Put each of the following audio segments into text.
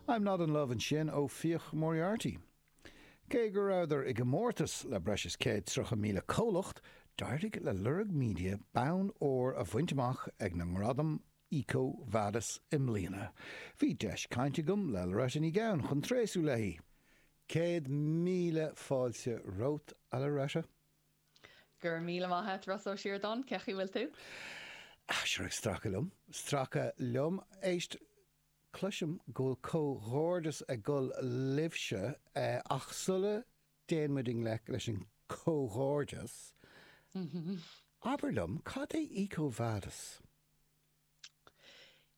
I'm Not In Love ansin ó Fiach Moriarty. Cé go rabhadar i gcomórtas le breis is 130,000 comhlacht, d'éirigh le Lorg Media bonn óir a bhaint amach ag na nGradaim EcoVadis i mbliana. Bhí deis cainte agam le Loretta Ní Gabhann chun tréaslú léi. 100,000 fáilte romhat, a Loretta. Go raibh míle maith a't, Rossa Ó Síordáin, cén chaoi a bhfuil tú? Ah, sure, ag stracadh liom, stracadh liom. Éist, cloisim go bhfuil comhghairdeas ag dul libhse, ach sula dtéann muid i ngleic leis an comhghairdeas, abair liom, cad é EcoVadis?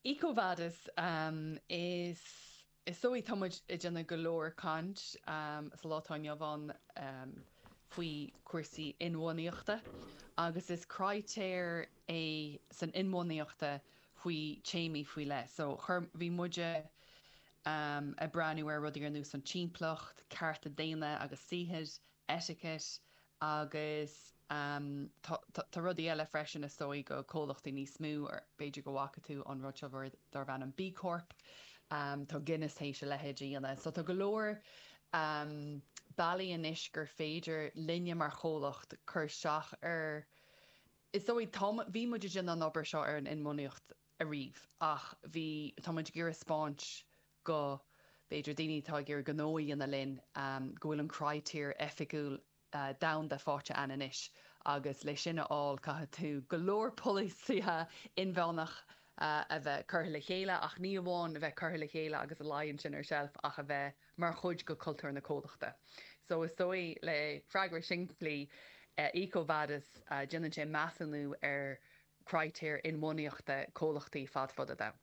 EcoVadis, is is dóigh tá muid ag déanamh go leor caint sa lá atá inniu ann faoi cúrsaí inbhuanaíochta agus is critéar é san inbhuanaíochta faoi téamaí faoi leith. So chuir, bhí muide ag breathnú ar rudaí ar nós an timpeallacht, cearta daonna agus saothair, etiquette agus tá rudaí eile freisin is dóigh go comhlachtaí níos mó, b'fhéidir go bhfaca tú an rud seo darb ainm B Corp, tá Guinness théis a leithéid a dhéanamh. So tá go leor bealaí anois gur féidir linne mar chomhlacht cur isteach ar, is dóigh, tá, bhí muid ag déanamh an obair seo ar an inbhuanaíocht ariamh ach bhí, tá muid ag iarraidh 'spáint go, b'fhéidir, daoine atá ag iarraidh gnó a dhéanamh linn, go bhfuil an critéar oifigiúil domhanda faighte a'inn anois agus le sin a fháil caithfidh tú go leor polasaithe inmheánach a bheith curtha le chéile ach ní amháin a bheith curtha le chéile agus a luí ansin ar shelf ach a bheith mar chuid go cultúr na comhlachta. So is dóigh le freagra simplí EcoVadis déanann sé measúnú ar critéir inbhuanaíochta comhlachtaí fad fud an domhain.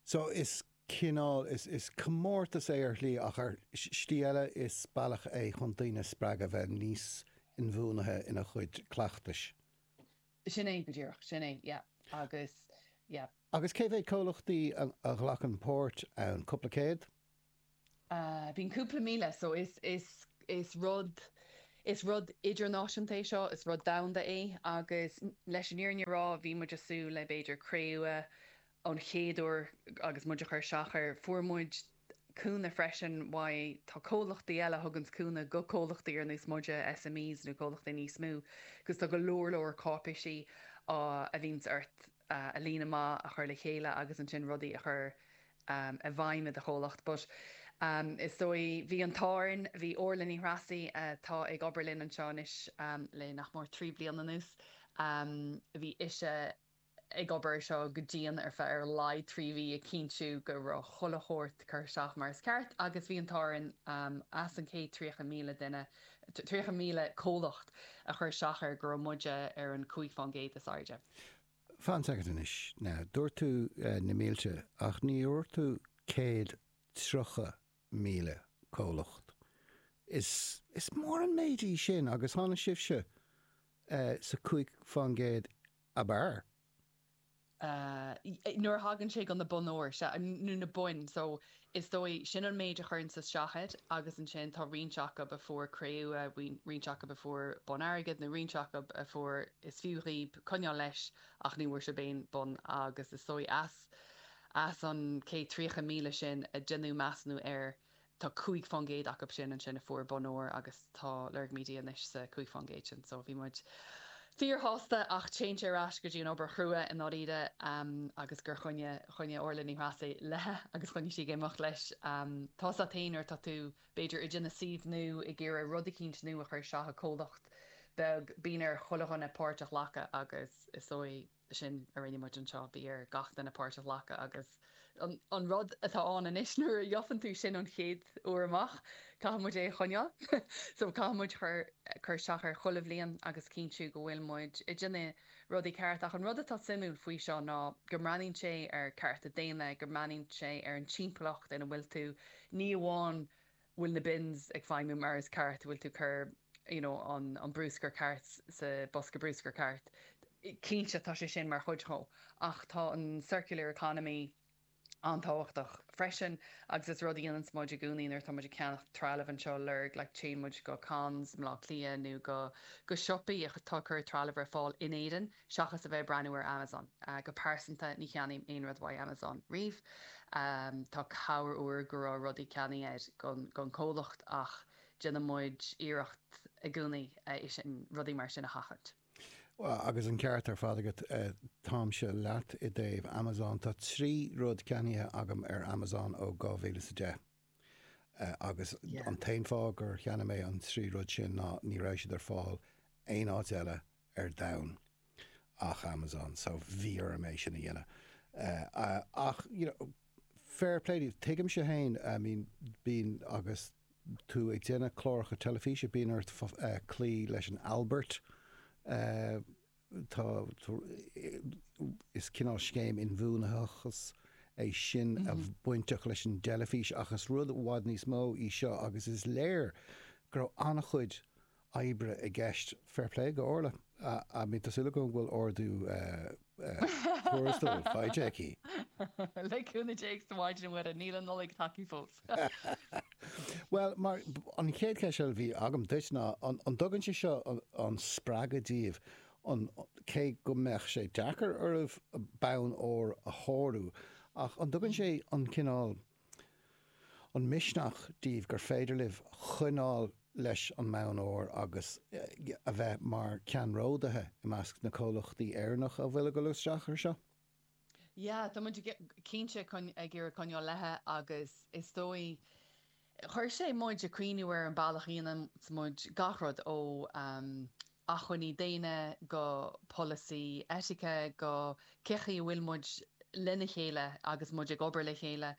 So is cineál, is comórtas é ar shlí ach ar shlí eile is bealach é chun daoine a spreagadh a bheith níos inbhuanaithe ina gcuid cleachtais. Sin é go díreach, sin é, yeah. Agus, yeah. Agus cé mhéad comhlachtaí a ghlacann páirt ann? Cúpla céad? Bíonn cúpla míle, so is, is, is rud, is rud idirnáisiúnta é seo, is rud domhanda é agus leis an fhírinne a rá bhí muid ag súil le b'fhéidir cré-umha ón chéad uair agus muid ag cur isteach air. Fuair muid cúnamh freisin uaidh, tá comhlachtaí eile a thuganns cúnamh go comhlachtaí ar nós muide, SMEs nó comhlachtaí níos mó, agus tá go leor leor cáipéisí a bhíonns ort a líonadh amach, a chur le chéile agus ansin rudaí a chur i bhfeidhm i do chomhlacht. But is dóigh, bhí an t-ádh orainn, bhí Orla Ní Threasaigh atá ag obair linn anseo anois le nach mór 3 bliana anuas, bhí ise ag obair ar seo go dian ar feadh ar a laghad 3 mhí ag cinntiú go raibh chuile shórt curtha isteach mar is ceart agus bhí an t-ádh orainn as an 130,000 duine, 30,000 comhlacht a chuir isteach air go raibh muide ar an 5% is airde. Fan soicind anois. Now, dúirt tú na mílte ach ní dhúirt tú 130,000 comhlacht. Is, is mór an méid í sin agus tháinig sibhse sa 5% ab fhearr. Nuair a thagann sé go na boinn óir, sea, nó na boinn, so is dóigh, sin an méid a chuireann isteach air agus ansin tá roinnt acu a fuair cré-umha, roinnt acu a fuair bonn airgid nó roinnt acu a fuair is fiú dhaoib coinneáil leis ach ní bhfuair sibh aon bonn agus is dóigh as, as an 130,000 sin a deineadh measúnú air Tá 5% acu sin ansin a fuair bonn óir agus tá Lorg Media anois sa 5% sin so bhí muid fíorshásta ach téann sé ar ais go dtí an obair chrua i ndáiríre agus gur choinnigh, choinnigh Orla Ní Threasaigh léi agus choinnigh sí ag imeacht leis. Tá 's a't fhéin nuair atá tú b'fhéidir ag déanamh suíomh nua, ag iarraidh rud eicínt nua a chur isteach i comhlacht beag, bíonn ar chuile dhuine páirt a ghlacadh agus is dóigh sin a rinne muid anseo, bhí ar gach duine páirt a ghlacadh agus an rud atá ann anois nuair a gheofan tú sin an chéad uair amach, caithfidh muid é a choinneáil. So caithfidh muid cur cur isteach air chuile bhliain agus cinntiú go bhfuil muid ag déanamh rudaí ceart. Ach an rud atá suimiúil faoi seo ná go mbreathnaíonn sé ar cearta daonna, go mbreathnaíonn sé ar an timpeallacht ina bhfuil tú, ní amháin bhfuil na bins ag feidhmiú mar is ceart, bhfuil tú cur you know an an brúscar ceart sa bosca brúscair ceart. Cinnte tá sé sin mar chuid dhó ach tá an circular economy an-tábhachtach freisin agus is rud a dhéananns muid i gcónaí nuair atá muid ag ceannach trealamh anseo Lorg like téann muid go Conn's i mBleá Cliath nó go go siopaí atá ag cur trealamh ar fáil in Éirinn seachas a bheith ag breathnú ar Amazon. Go pearsanta ní cheannaím aon rud uaidh Amazon riamh. Tá corruair go raibh rudaí ceannaithe agat don chomhlacht ach déanann muid iarracht i gcónaí é sin, rudaí mar sin a sheachaint. Bhuel, agus an ceart ar fad agat, táimse leat i dtaobh Amazon. Tá 3 rud ceannaithe agam ar Amazon ó 2010. Agus an t-aon fáth gur cheannaigh mé an 3 rud sin ná ní raibh siad ar fáil aon áit eile ar domhan ach Amazon, so bhí orm é sin a dhéanamh. Ach, you know, fair play daoibh, tuigimse féin, I mean, bíonn, agus tú ag déanamh cláracha teilifíse, bíonn ort cloí leis an Albert, Tá, is cineál scéim inbhuanaitheachas é sin a bainteach leis an dteilifís ach is rud i bhfad níos mó í seo agus is léir go raibh an-chuid oibre i gceist. Fair play go Orla. I mean tá súil agam go bhfuil ardú tuarastail faighte aici. Le cúnamh Dé agus a Mhaighdean Mhuire, níl an Nollaig tagtha fós. Bhuel, mar, an chéad cheist eile a bhí agam duit ná, an dtugann sé seo an spreagadh daoibh, an, cé go mbeadh sé deacair oraibh bonn óir a shárú, ach an dtugann sé an cineál, an misneach daoibh gur féidir libh coinneáil leis an mbonn óir agus a bheith mar ceannródaithe i measc na comhlachtaí Éireannach a bhfuil ag dul isteach ar seo? Yeah, tá muid cinnte ag iarraidh coinneáil léithe agus is dóigh, chuir sé muid ag cuimhniú ar an bealach a dhéanann muid gach rud ó acmhainní daonna go polasaí eitice go cé chaoi a bhfuil muid lena chéile agus muid ag obair le chéile.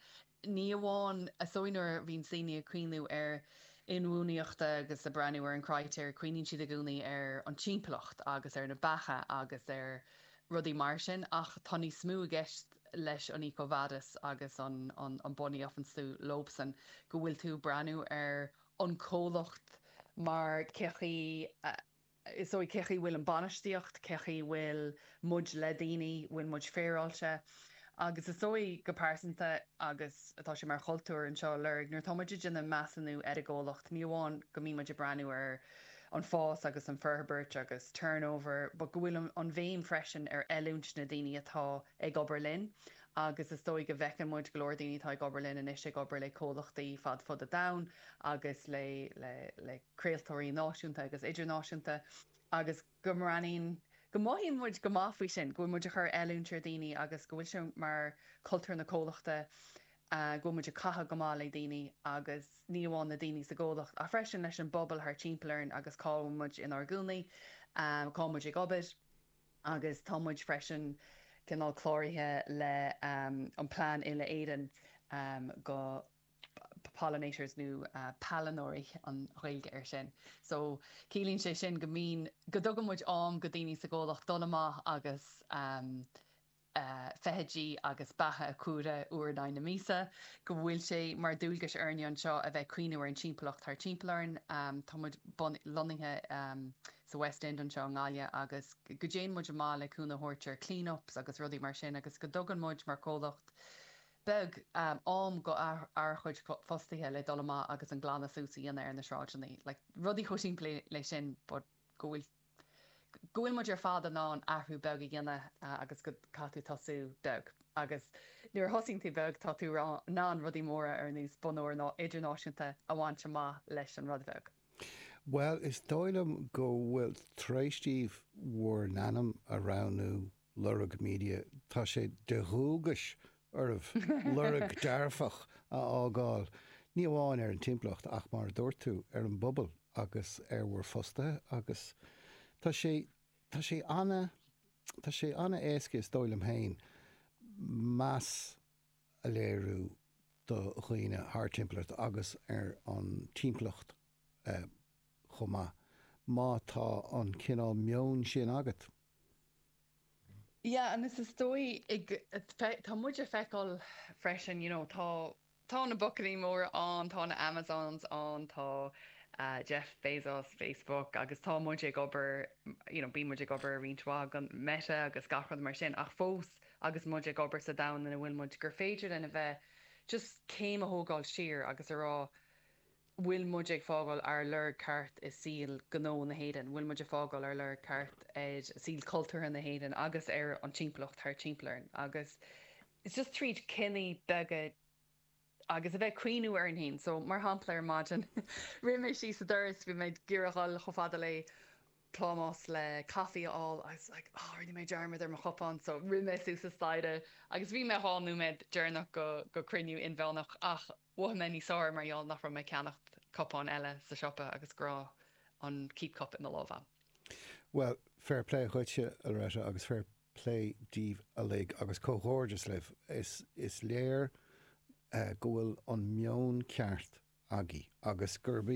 Ní amháin, is dóigh nuair a bhíonn daoine ag cuimhniú ar inbhuanaitheachta agus ag breathnú ar an critéir, cuimhníonn siad i gcónaí ar an timpeallacht agus ar na beacha agus ar rudaí mar sin ach tá níos mó i gceist leis an EcoVadis agus an an bonn a gheofans tú leobsan, go bhfuil tú ag breathnú ar an comhlacht mar cé chaoi a Is dóigh cé chaoi bhfuil an bainistíocht, cé chaoi bhfuil muid le daoine, bhfuil muid féaráilte. Agus is dóigh go pearsanta, agus atá sé mar chultúr anseo i Lorg, nuair atá muid ag déanamh measúnú ar an gcomhlacht, ní amháin go mbíonn muid ag breathnú ar an fás agus an forbairt agus turnover, but go bhfuil an bhéim freisin ar oiliúint na daoine atá ag obair linn. Agus is dóigh go bhfeiceann muid go leor daoine atá ag obair linn anois ag obair le comhlachtaí fad fud an domhain agus le le le craoltóirí náisiúnta agus idirnáisiúnta agus go mbreathnaíonn, go mothaíonn muid go maith faoi sin, go bhfuil muid ag cur oiliúint ar dhaoine agus go bhfuil sé mar cultúr na comhlachta, go bhfuil muid ag caitheamh go maith le daoine agus ní amháin na daoine sa gcomhlacht ach freisin leis an bpobal thart timpeall orainn agus cá bhfuil muid inár gcónaí, cá bhfuil muid ag obair. Agus tá muid freisin cineál cláraithe le an plean uile-Éireann go. pollinators nó pailneoirí an Ghaeilge air sin. So ciallaíonn sé sin go mbíonn, go dtugann muid am go daoine sa gcomhlacht dul amach agus feithidí agus beacha a chomhaireamh uair in aghaidh na míosa, go bhfuil sé mar dualgais orainne anseo a bheith ag cuimhniú ar an timpeallacht thar timpeall orainn. Tá muid lonnaithe sa West End anseo i nGaillimh agus go dtéann muid amach le cúnamh a thabhairt ar clean-ups agus rudaí mar sin agus go dtugann muid mar chomhlacht beag am go ár chuid fostaithe le dul amach agus an glanadh suas a dhéanamh ar na sráideanna. Like, rudaí chomh simplí le sin but go bhfuil, go bhfuil muid ar fad in ann athrú beag a dhéanamh agus go caithfidh tú tosú beag. Agus nuair a thosaíonn tú beag tá tú in ann rudaí móra ar nós bonn óir idirnáisiúnta a bhaint amach leis an rud bheag. Bhuel, is dóigh liom go bhfuil, tar éis daoibh bhur n-ainm a roghnú, Lorg Media, tá sé de dhualgais oraibh lorg dearfach a fhágáil, ní amháin ar an timpeallacht ach, mar a dúirt tú, ar an bpobal agus ar bhur bhfostaithe agus tá sé, tá sé ana, tá sé ana-éasca is dóigh liom féin meas a léiriú do dhaoine thar timpeall ort agus ar an timpeallacht chomh maith, má tá an cineál meoin sin agat. Yeah, and is dóigh ag, tá muid ag feiceáil freisin, you know, tá, tá na buachaillí móra ann, tá na Amazons ann, tá Jeff Bezos, Facebook, agus tá muid ag obair, you know, bíonn muid ag obair ar roinnt mhaith go Meta agus gach rud mar sin, ach fós agus muid ag obair sa domhan ina bhfuil muid, gur féidir linn a bheith just céim a thógáil siar agus a rá, bhfuil muid ag fágáil ár lorg ceart i saol gnó na hÉireann, bhfuil muid ag fágáil ár lorg ceart ar saol cultúrtha na hÉireann agus ar an timpeallacht thart timpeall orainn. Agus It's just tríd cinní beaga agus a bheith ag cuimhniú orainn féin. So, mar shampla, ar maidin, rith mé síos an doras, bhí mé ag iarraidh dhul chomh fada le plámás le caife a fháil agus like, oh, rinne mé dearmad ar mo chupán, so rith mé suas an staighre agus bhí mé 2 nóiméad deireanach go, go cruinniú inmheánach ach mhothaigh mé níos fearr mar gheall nach raibh mé ag ceannacht cupán eile sa siopa agus go raibh an keep cup i mo lámh a'm. Bhuel, fair play dhuitse, a Loretta, agus fair plé daoibh uilig agus comhghairdeas libh. Is is léir go bhfuil an meon ceart agaibh agus gurb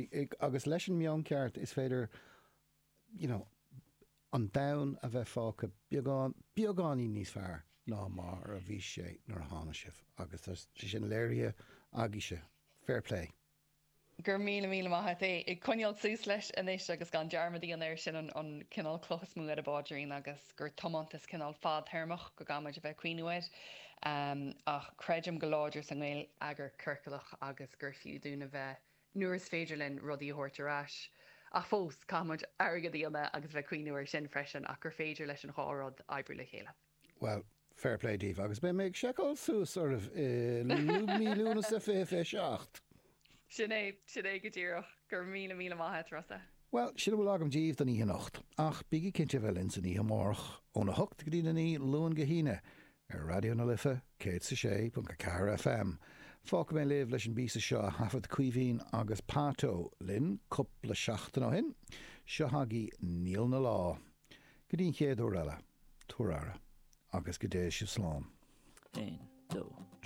agus leis an meon ceart is féidir you know an domhan a bheith fágtha beagán beagáinín níos fearr ná mar a bhí sé nuair a tháinig sibh agus tá sé sin léirithe agaibhse. Fair play. Go raibh míle míle maith a't. É ag coinneáil suas leis anois agus gan dearmad a dhéanamh air, sin an cineál cloch is mó ar an bpaidrín agus gur tiomantas cineál fadthéarmach go gcaithfidh muid a bheith ag cuimhniú air. Ach creidim go láidir sa ngeilleagar ciorclach agus gur fiú dúinn a bheith, nuair is féidir linn, rudaí a thabhairt ar ais. Ach fós, caithfidh muid airgead a dhéanamh agus a bheith ag cuimhniú air sin freisin ach gur féidir leis an dhá rud oibriú le chéile. Bhuel, fair play daoibh, agus beidh mé ag seiceáil suas oraibh i mí Lúnasa 2027. Sin é, sin é go díreach. Go raibh míle, míle maith a't, Rossa. Bhuel, sin a bhfuil agam daoibh don oíche anocht. Ach bígí cinnte a bheith linn san oíche amárach, óna hocht go dtí a naoi, Luan go hAoine, ar Raidió na Life 106.4 FM. Fágfaidh mé libh leis an bpíosa seo a thaifead Caoimhín agus Pato linn cúpla seachtain ó shin. Seo agaibh Níl 'Na Lá. Go dtí an chéad uair eile. Tabhair aire, agus go dté sibh slán. 1, 2.